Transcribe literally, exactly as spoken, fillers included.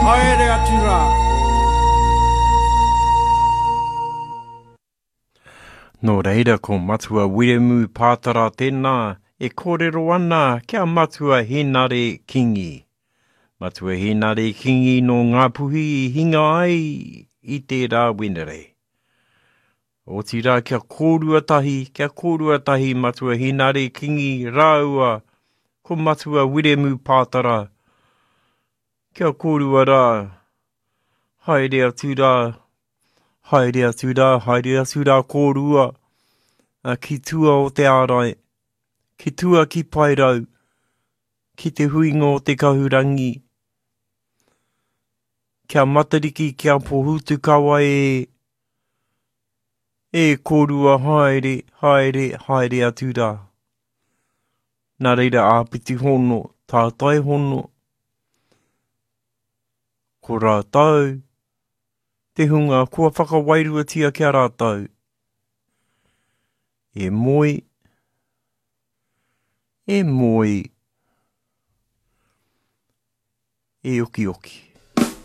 Haere atu rā. Nō reira ko Matua Wiremu Pātara tēnā e kōrero ana kia Matua Hēnare Kingi. Matua Hēnare Kingi nō Ngāpuhi i hinga ai i tērā Wenerei. Otirā kia kōrua tahi, kia kōrua tahi Matua Hēnare Kingi rāua ko Matua Wiremu Pātara. Kia kōrua rā, haere atu rā, haere atu rā, haere atu rā kōrua ki tua o te ārai, ki tua ki Paerau, ki te huinga o te kahurangi. Kia Matariki, kia Pohutukawa e, e kōrua haere, haere, haere atu rā. Nā reira āpiti hono, tātai hono, ko rātou, te hunga kua whakawairuatia ki a rātou. E moe, e moe, e okioki.